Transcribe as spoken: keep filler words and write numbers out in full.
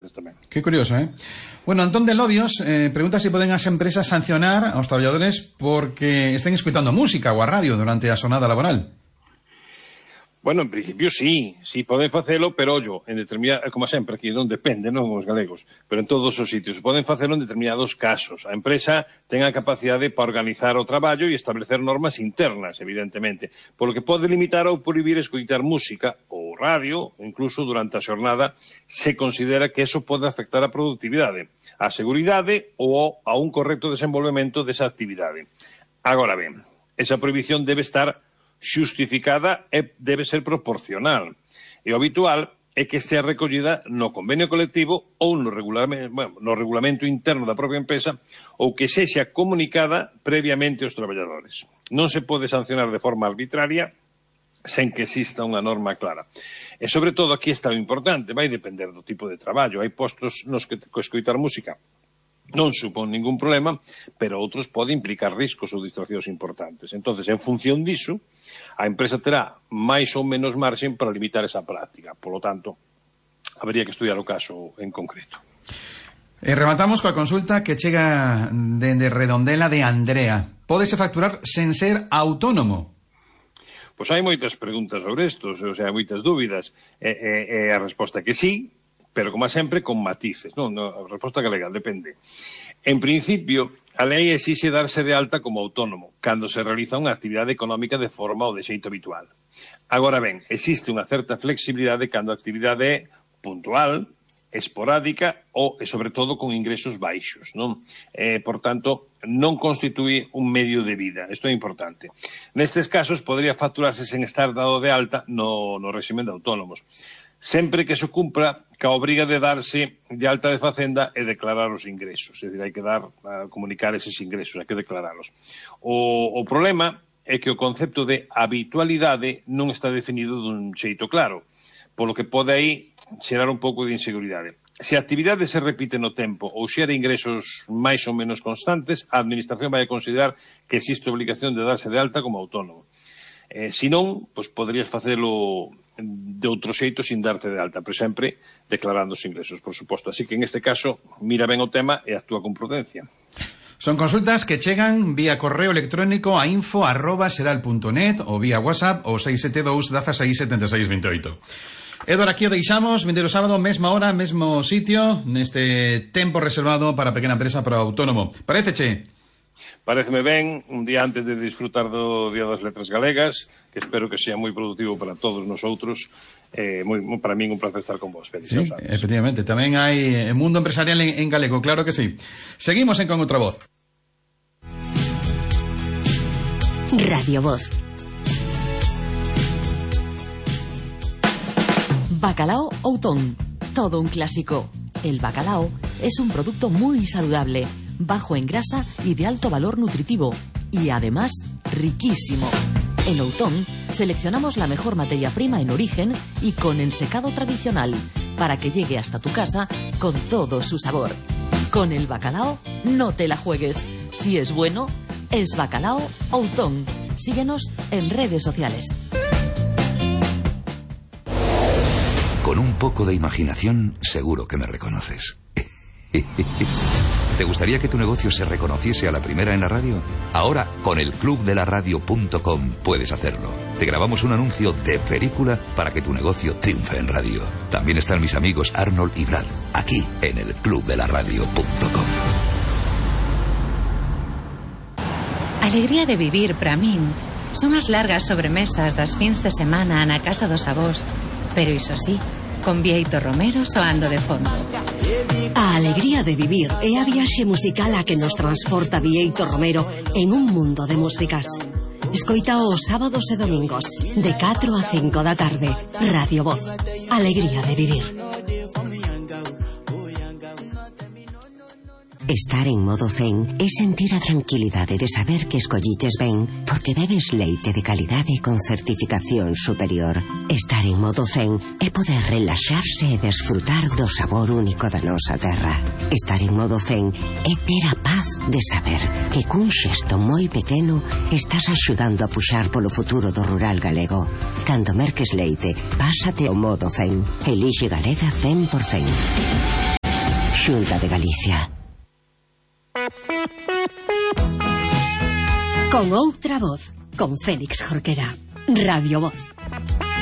importantes tamén. Que curioso, eh? Bueno, Antón de Lobios eh, pregunta se si poden as empresas sancionar aos traballadores porque estén escuitando música ou a radio durante a xornada laboral. Bueno, en principio sí, sí poden facelo, pero ollo, en determinada, como sempre, aquí non depende, non os galegos, pero en todos os sitios, poden facelo en determinados casos. A empresa ten a capacidade para organizar o traballo e establecer normas internas, evidentemente, polo que pode limitar ou prohibir escoitar música ou radio, incluso durante a xornada, se considera que eso pode afectar a productividade, a seguridade ou a un correcto desenvolvemento desa actividade. Agora ben, esa prohibición debe estar xustificada e debe ser proporcional. E o habitual é que estea recollida no convenio colectivo ou no regulamento, bueno, no regulamento interno da propia empresa ou que sexa comunicada previamente aos traballadores. Non se pode sancionar de forma arbitraria sen que exista unha norma clara. E, sobre todo, aquí está o importante, vai depender do tipo de traballo. Hai postos nos que escoitar música non supón ningún problema, pero outros pode implicar riscos ou distraccións importantes. Entonces, en función diso, a empresa terá máis ou menos marxen para limitar esa práctica. Por lo tanto, habría que estudiar o caso en concreto. E rematamos coa consulta que chega dende Redondela de Andrea. Pódese facturar sen ser autónomo? Pois hai moitas preguntas sobre isto, o sea, moitas dúbidas. E, e, e a resposta é que sí, pero como sempre con matices, non? A resposta galega depende. En principio, a lei exixe darse de alta como autónomo cando se realiza unha actividade económica de forma ou de xeito habitual. Agora ben, existe unha certa flexibilidade cando a actividade é puntual, esporádica ou, e sobre todo, con ingresos baixos, non? Eh, por tanto, non constitúe un medio de vida. Isto é importante. Nestes casos, podría facturarse sen estar dado de alta no, no réximen de autónomos, sempre que se cumpra ca obriga de darse de alta de Facenda e declarar os ingresos. É dicir, hai que dar, a comunicar eses ingresos, hai que declaralos. O, o problema é que o concepto de habitualidade non está definido dun xeito claro, polo que pode aí xerar un pouco de inseguridade. Se a actividade se repite no tempo ou xera ingresos máis ou menos constantes, a Administración vai a considerar que existe obligación de darse de alta como autónomo. Eh, se non, pois poderías facelo de outro xeito sin darte de alta, pero sempre declarando os ingresos, por suposto. Así que en este caso, mira ben o tema e actúa con prudencia. Son consultas que chegan vía correo electrónico a info arroba sedal punto net ou vía WhatsApp ou seis sete dous, dezasseis, setenta e seis, vinte e oito. Edor, aquí o deixamos, vindeiro sábado, mesma hora, mesmo sitio, neste tempo reservado para a pequena empresa para o autónomo. Paréceche? Paréceme ben, un día antes de disfrutar do Día das Letras Galegas, que espero que sea moi productivo para todos nosotros. Eh, moi, para min un placer estar con vos. Feliz, sí, efectivamente, tamén hai mundo empresarial en, en galego, claro que sí. Seguimos en Con Outra Voz. Radio Voz. Bacalao Outón, todo un clásico. El bacalao es un producto muy saludable, bajo en grasa y de alto valor nutritivo, y además riquísimo. En Outón seleccionamos la mejor materia prima en origen y con ensecado tradicional, para que llegue hasta tu casa con todo su sabor. Con el bacalao no te la juegues. Si es bueno, es Bacalao Outón. Síguenos en redes sociales. Con un poco de imaginación, seguro que me reconoces. ¿Te gustaría que tu negocio se reconociese a la primera en la radio? Ahora, con el club de la radio punto com puedes hacerlo. Te grabamos un anuncio de película para que tu negocio triunfe en radio. También están mis amigos Arnold y Brad, aquí en el club de la radio punto com. Alegría de vivir, para min, son as largas sobremesas das fins de semana na casa dos avós, pero iso sí, con Bieito Romero soando de fondo. A alegría de vivir é a viaxe musical a que nos transporta Bieito Romero en un mundo de músicas. Escoita os sábados e domingos de catro a cinco da tarde. Radio Voz. Alegría de vivir. Estar en modo zen é sentir a tranquilidade de saber que escolliches ben porque bebes leite de calidade con certificación superior. Estar en modo zen é poder relaxarse e desfrutar do sabor único da nosa terra. Estar en modo zen é ter a paz de saber que cun xesto moi pequeno estás axudando a puxar polo futuro do rural galego. Cando merques leite, pásate ao modo zen. Elixe Galega cen por cen. Xunta de Galicia. Con outra voz, con Félix Jorquera. Radio Voz.